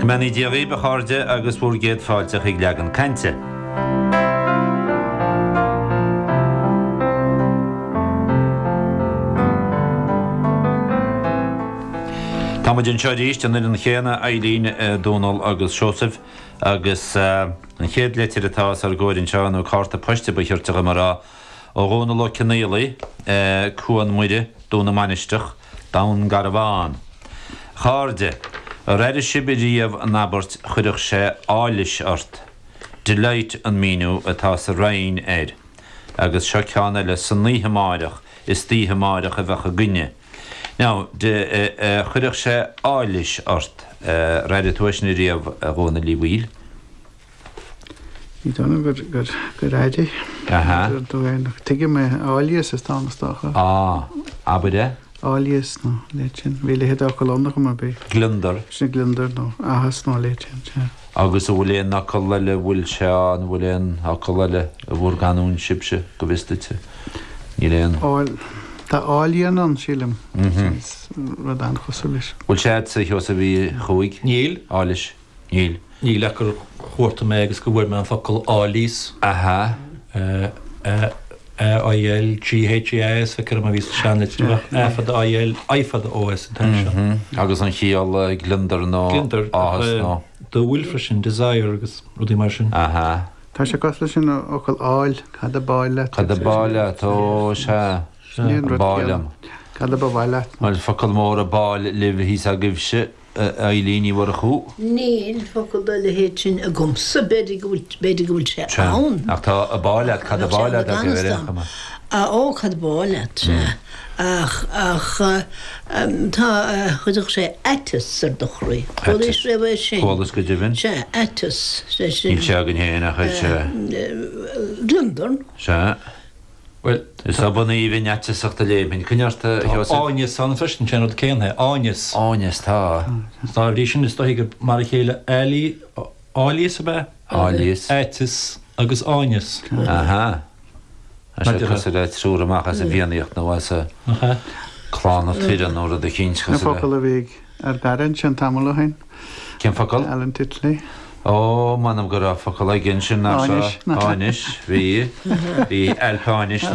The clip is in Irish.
Go mbeannaí Dia dhaoibh, a chairde, agus bhur gcéad fáilte chuig Leagan Cainte. Tá muid anseo arís, an fhoireann chéanna, Eileen, Dónal agus Seosamh, agus an chéad litir atá os ár gcomhair anseo, nó cárta poist a ba chirte dhom a rá, ó Dhónal Ó Cionnaolaidh, Cuan Muire, Dún na Mainistreach, Dún Garbhán. A chairde, ar airigh sibh riamh an abairt 'chuirfeadh sé áilís ort'? Delight an míniú atá sa Roinn air. Agus seo ceann eile, 'San oíche amáireach, is d'oíche amáireach a bheadh againne'. Now, de, chuirfeadh sé áilís ort. Ar airigh tú é sin riamh, a Dhónaill Uí Bhaoill? Ní dóigh liom gur, gur, gur airigh. Aha. Tuigim é, áilíos is dá is dócha. Á, abair é. Áilíos nó a leithéid sin. Bhí a leithéid d'fhocal ann ar chuma ar bith. Gliondar. Sin gliondar nó áthas nó a leithéid sin, sea. Agus an bhfuil aon fhocal eile, an bhfuil sé ann, an bhfuil aon fhocal eile i bhur gcanúint sibhse, go bhfios duitse? Níl aon. Áil, tá áilíon ann, sílim. Rud an-chosúil leis. Bhfuil sé a'dsa, a Sheosaimh Uí Chuaig? Níl. Áilis. Níl. Níl ach gur chuartaigh mé agus go bhfuair mé an focal áilíos. Aha. A-I-L-G-H-E-A-S, feictear dom a bhí sa seanlitir, ach A fada I-L, I fada O-S an t-ainm seo. Agus an chiall gliondar nó áthas nó. Dúil freisin, desire agus rudaí mar sin. Aha. Tá sé cosúil leis an fhocal áil, cad a b'áil leat? Cad a b'áil leat, ó sea, a b'áil liom. Cad a ba mhaith leat? Bhuel, focal mór a b'áil libh thíos agaibhse. A Eilín Ní Mhurchú. Níl focal dá leithéid sin agamsa, b'fhéidir go bhfuil, b'fhéidir go bhfuil sé Sea. ann. Ach tá a b'áil leat, cad a b'áil leat agaibh ar aon chuma? Á, ó, cad a b'áil leat, sea. Ach, ach, tá, chuirfeadh sé aiteas ar do chroí. Chualaís riamh é sin? Chualas go deimhin. Sea, aiteas, sé sin. Níl sé againn féin ach is ea. Gliondar. Sea. Bhuel, Is obann aoibhinn aiteasach do léimfinn. Coinnigh ort, a tá Sheosaimh. áineas ann freisin, sé an rud céanna é, áineas. Áineas, tá. Dá bhrí sin, is dóichí gur mar a chéile áilí, áilíos ab ea? Áilíos. Aiteas agus áineas. Aha. Tá sé Maidir le. cosúil le triúr amach as an bhFiannaíocht nó as a Nach ea? Clanna Tuireann nó rud eicínt Na cosúil le. focail a bhí ag ár gcara ansin tamall ó shin. Cén focal? Alan Titley. Ó, m'anam go raibh focal aige ansin nach Áineas. Áineas, bhí. Bhí Ailp Áinis nó.